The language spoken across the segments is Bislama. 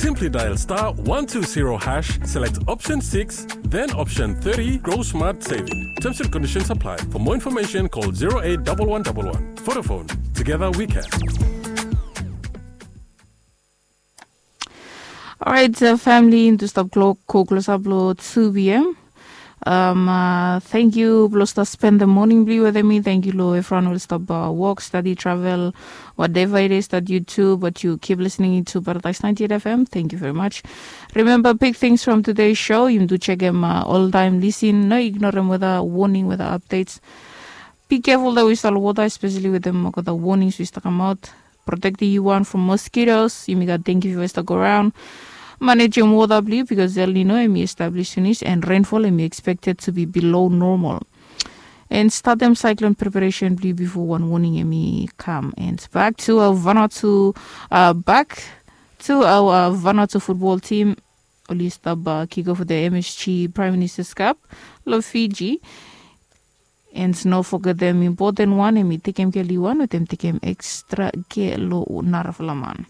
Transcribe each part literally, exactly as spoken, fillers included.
Simply dial star one two zero hash, select option six, then option thirty, Grow Smart Saving. Terms and conditions apply. For more information, call zero eight double one double one. Vodafone. Together we can. Orait, famili, into stap klok ko klosap long two p.m. Um, uh, thank you, blong stap spend the morning blong yu wetem mi. Thank you, lo everyone will stop uh, work, study, travel, whatever it is that you do, but you keep listening to Paradise ninety-eight F M. Thank you very much. Remember, big things from today's show. You do check them uh, all time. Listen, no ignore them with a warning, with the updates. Be careful that we start water, especially with them, with the warnings we start come out. Protect the one from mosquitoes. Yumi gat dengue fever start go around. Manage your water, please, because El Nino emi established finis and rainfall emi expected to be below normal. And start them cyclone preparation, please, before one warning emi come. And back to our Vanuatu, uh, back to our uh, Vanuatu football team. Oli stap uh, kick off the M S G Prime Minister's Cup, lo Fiji. And no forget them important one, emi tekem ke liwan, wetem tekem extra ke lo narafala man.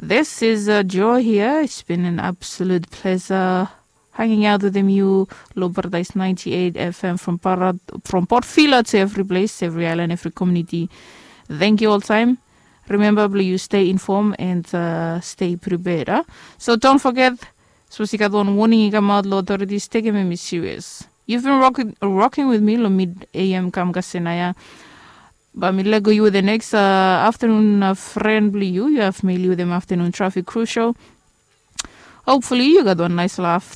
This is uh, Joe here. It's been an absolute pleasure hanging out with you, lo Paradise ninety-eight F M from Parad, from Port Vila to every place, every island, every community. Thank you all time. Remember, blong yu stay informed and uh, stay prepared. Uh? So don't forget, suppose you got one warning, you come out, lo authorities, take him serious. You've been rocking, rocking with me, lo mid A M kam kasena ya. Ba mi lego yu the next uh, afternoon uh, friend blong yu. You have me with them afternoon traffic crucial. Hopefully, you got one nice laugh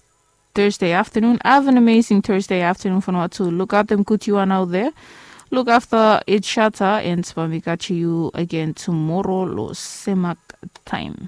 Thursday afternoon. Have an amazing Thursday afternoon for now too. Look out them good you are out there. Look after each other and ba mi catch you again tomorrow lo semak time.